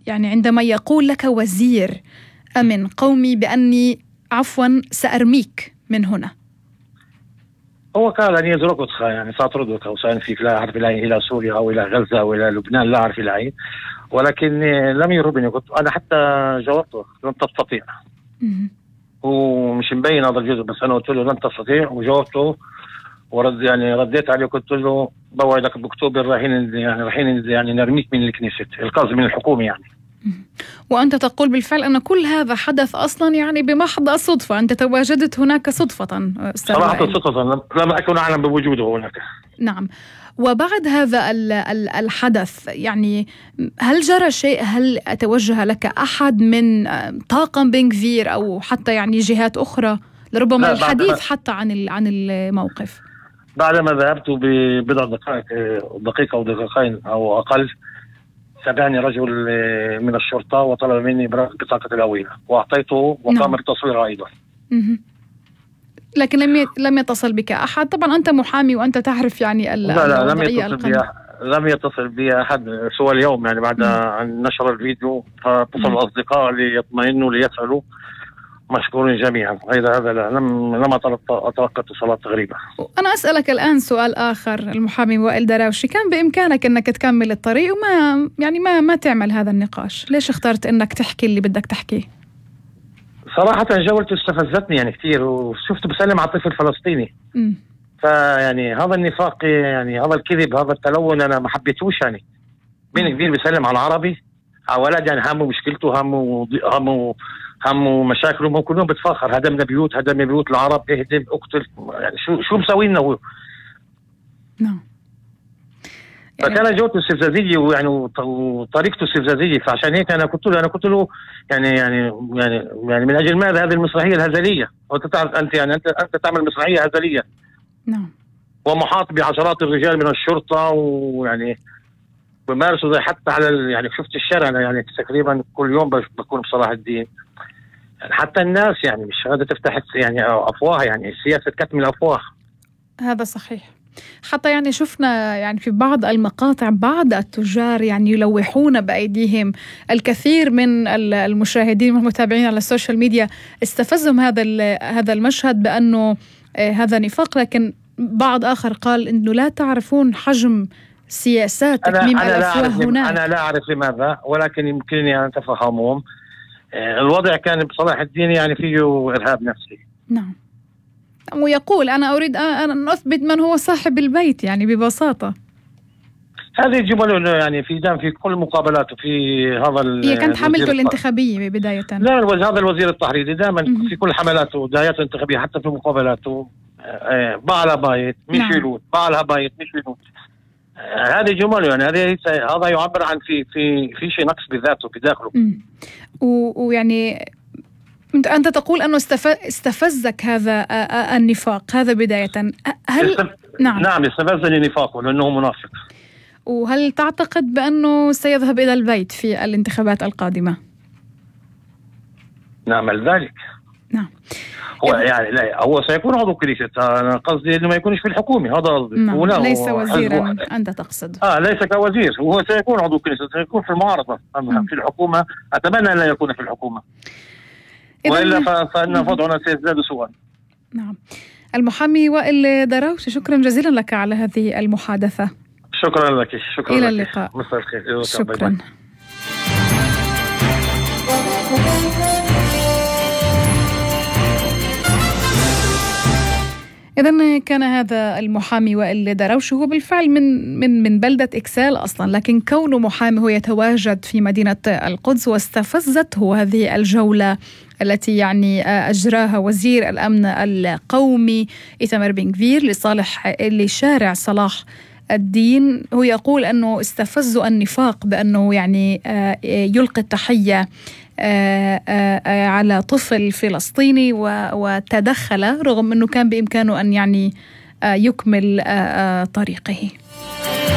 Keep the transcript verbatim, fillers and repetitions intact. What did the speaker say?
يعني عندما يقول لك وزير أمن قومي بأني عفوا سأرميك من هنا؟ هو قال أن يتركك يعني سأطردك أو سأنفيك، لا أعرف إلى إلى سوريا أو إلى غزة أو إلى لبنان، لا أعرف إلى أين، ولكن لم يربني. كنت أنا حتى جاوبته لن تستطيع. هو مش مبين هذا الجزء، بس أنا قلت له لن تستطيع وجاوبته ورد يعني رديت عليه قلت له بوعدك بأكتوبر رايحين يعني رايحين يعني نرميك من الكنيسة، القصد من الحكومة يعني. وأنت تقول بالفعل أن كل هذا حدث أصلا يعني بمحض الصدفة، أنت تواجدت هناك صدفة. صراحة صدفة، لم أكن أعلم بوجوده هناك. نعم. وبعد هذا الحدث يعني هل جرى شيء؟ هل توجه لك أحد من طاقم بن غفير أو حتى يعني جهات أخرى لربما الحديث حتى عن عن الموقف؟ بعدما ذهبت ببضع دقائق دقيقة أو دقيقتين أو أقل، سبعني رجل من الشرطة وطلب مني بطاقة الهوية وأعطيته وقام بالتصوير أيضا. لكن لم لم يتصل بك أحد؟ طبعا أنت محامي وأنت تعرف يعني لا لا لم يتصل بي لم يتصل بي أحد سوى اليوم يعني بعد أن نشر الفيديو، فاتصل الأصدقاء ليطمئنوا ليسألوا، مشكورين جميعا. هذا هذا لا لم لم أتلقى اتصالات غريبة. أنا أسألك الآن سؤال آخر، المحامي وائل دراوشي، كان بإمكانك أنك تكمل الطريق وما يعني ما ما تعمل هذا النقاش، ليش اخترت أنك تحكي اللي بدك تحكيه؟ صراحة جولته استفزتني يعني كثير، وشفت بسلم على طفل فلسطيني. م. فيعني هذا النفاق يعني هذا الكذب هذا التلون أنا ما حبيتوش يعني. بين كبير بسلم على العربي على ولد يعني همه مشكلته همه همه همه مشاكله، مو كلهم بتفاخر هدمنا بيوت هدمنا بيوت العرب اهدم اقتل، يعني شو شو مسوي لنا هو؟ نعم. فكان جوته استفزازية ويعني وطريقته استفزازية، فعشان هيك أنا قلت له أنا قلت له يعني يعني يعني يعني من أجل ماذا هذه المسرحية الهزلية؟ وأنت تعرف أنت يعني أنت أنت تعمل مسرحية هزلية. نعم. ومحاط بعشرات الرجال من الشرطة ويعني بمارسوا زي حتى على يعني شفت الشارع أنا يعني تقريبا كل يوم بكون بصلاح الدين، يعني حتى الناس يعني مش قادرة تفتح يعني أفواه، يعني سياسة كتم الأفواه. هذا صحيح. حتى يعني شفنا يعني في بعض المقاطع بعض التجار يعني يلوحون بأيديهم الكثير من المشاهدين والمتابعين على السوشيال ميديا. استفزهم هذا هذا المشهد بأنه هذا نفاق، لكن بعض آخر قال إنه لا تعرفون حجم سياسات تكميم الأفواه هناك. أنا لا أعرف لماذا، ولكن يمكنني أن أتفهمهم. الوضع كان بصلاح الدين يعني فيه إرهاب نفسي. نعم. ويقول أنا أريد أن أثبت من هو صاحب البيت يعني ببساطة. هذه الجمل يعني في دام في كل مقابلاته في هذا هي كانت حملته الانتخابية بداية. لا هذا الوزير التحريري دائما في كل حملاته دعاياته الانتخابية حتى في مقابلاته بعلها بايت مش يلوت بعلها بايت مش يلوت. هذه جمل يعني هذه هذا يعبر عن في في في شيء نقص بذاته بداخله. ويعني أنت تقول أنه استفزك هذا النفاق هذا بداية. هل استف... نعم نعم استفزني نفاقه لأنه منافق. وهل تعتقد بأنه سيذهب إلى البيت في الانتخابات القادمة؟ نعمل ذلك. نعم. هو يعني لا هو سيكون عضو كنيسة، أنا قصدي إنه ما يكونش في الحكومة، هذا قصدي. نعم. ليس وزيرا أنت تقصد. آه ليس كوزير، هو سيكون عضو كنيسة، سيكون في المعارضة. أما في الحكومة أتمنى أن لا يكون في الحكومة، وإلا فإن وضعنا سيزداد سوءا. نعم. المحامي وائل دراوشي، شكرا جزيلا لك على هذه المحادثة. شكرا لك. شكرا إلى لك. اللقاء. مساء الخير. شكرا. إذن كان هذا المحامي وائل دراوشي، هو بالفعل من من من بلدة إكسال أصلا، لكن كونه محامي هو يتواجد في مدينة القدس، واستفزته هذه الجولة التي يعني أجراها وزير الأمن القومي إيتمار بن غفير لصالح لشارع صلاح الدين. هو يقول أنه استفزوا النفاق بأنه يعني يلقي التحية على طفل فلسطيني وتدخل رغم أنه كان بإمكانه أن يعني يكمل طريقه.